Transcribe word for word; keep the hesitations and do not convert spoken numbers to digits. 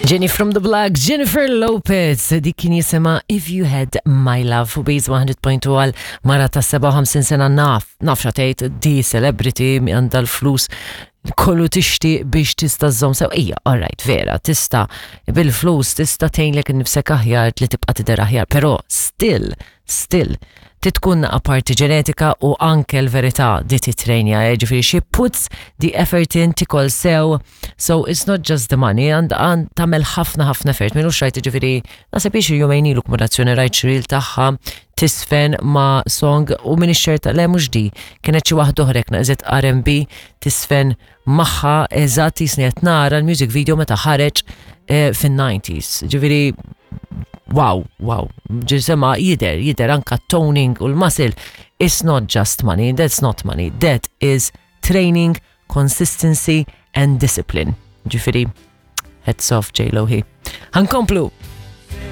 Jenny from the Block, Jennifer Lopez, dik kien jisimha If You Had My Love u Base one hundred point two għal mara ta' sebgħa u ħamsin sena. Naf, naf x'għedt, di celebrity għandha l-flus kollu tixti biex tista' żżomm sew. Ija, alright, vera, tista' bil-flus tista' tgħinlek nifsek aħjar li tibqa' tidher aħjar, però still, still, titkun parti ġenetika u anke l-verità di titrejnja, eh, ġifieri she puts the effort in, tikol sew, so it's not just the money, and għand tagħmel ħafna ħafna effort, minnu xrajt, ġifieri, naħseb xi jumejn ilu kumulazzjoni rajt reel tagħha tisfen ma' song u minn ix-xerta le mhux di, kienet xi waħda oħra naqżet R and B tisfen magħha eżatt jisni qed nara l-music video meta ħareġ eh, fin-nineties. Ġifieri wow, wow, ġisema jidher, jidher anka toning u l-muscle. It's not just money, that's not money, that is training, consistency and discipline. Ġifieri, hats off J-Lo hi. Ħa nkomplu.